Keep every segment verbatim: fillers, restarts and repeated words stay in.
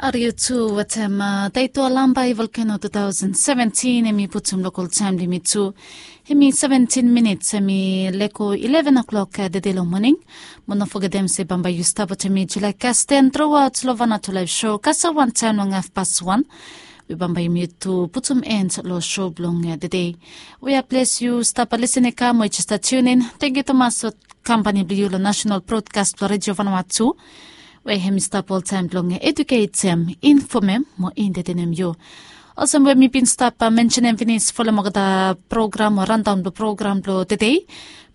Ari yu tu wetem taito lambai volkeno two thousand seventeen, em i putum lokol taem blong yumi tu. Em i seventeen minits, em i leko eleven o'clock tede long moning. Mo no fogetem se bambae yu stap wetem mi July Kasten truaot long Vanuatu Laev Sho kasem wantaem long hafpas wan. We bambae yumi tu putum en long sho blong tede. We a ples yu stap lisin i kam we yu jes stap tiunin, tangkiu tumas long kampani blong yu long National Broadcast blong Redio Vanuatu, we hem i stap oltaem blong eduketem, infomem mo entetenem yu. Olsem we mi bin stap mensenem finis, folem olgeta program o randaon blong program blong tede,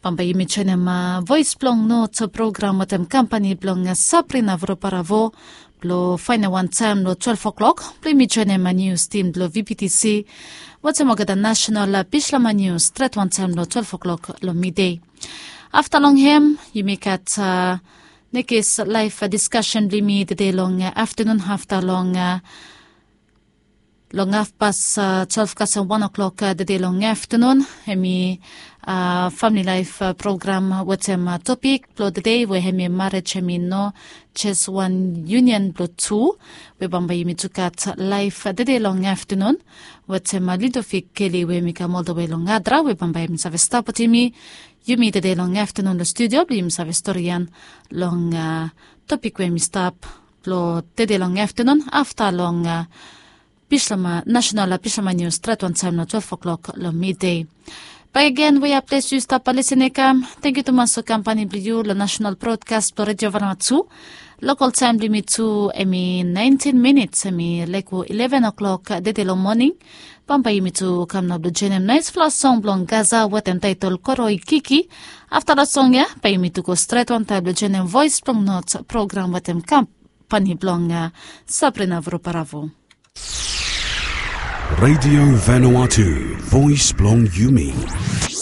bambae yumi joenem Voes blong Not program wetem kampani blong Sabrina Voroparavo blong faenem wantaem long twelve o'clock blong yumi joenem nius tim blong VBTC wetem olgeta nasenal bislama nius stret wantaem long twelve o'clock long midei. Afta long hem yumi gat nekis laef diskasen blong yumi tede long aftanun afta long long hafpas twelve kasem wan o'clock tede long aftanun. Hem i famili laef program wetem topik blong tede we hem i marej hem i no jes wan yunion blong tu. We bambae yumi tu gat laef tede long aftanun wetem Ludovic Kelly we hem i kam oldewe long Adra, we bambae hem i save stap wetem yumi tede long aftanun long studio blong yumi save storian long topik we hem i stap blong tede long aftanun afta long bislama nasenal bislama nius stret wantaem long twelve o'clock long midei. Bakegen we a ples yu stap lisin i kam, tangkiu tumas long kampani blong yu long National Broadcast blong Redio Vanuatu. Lokol taem blong yumi tu hem i naentin minits, hem i leko eleven o'clock tede long moning. Bambae yumi tu kam nao blong joenem naesfala song blong Gaza wetem taetol Koroikiki. Afta long song ya bae yumi tu go stret wantaem blong joenem Voes blong Not program wetem kampani blong Sabrina Voroparavo. Radio Vanuatu, Voes blong Yumi.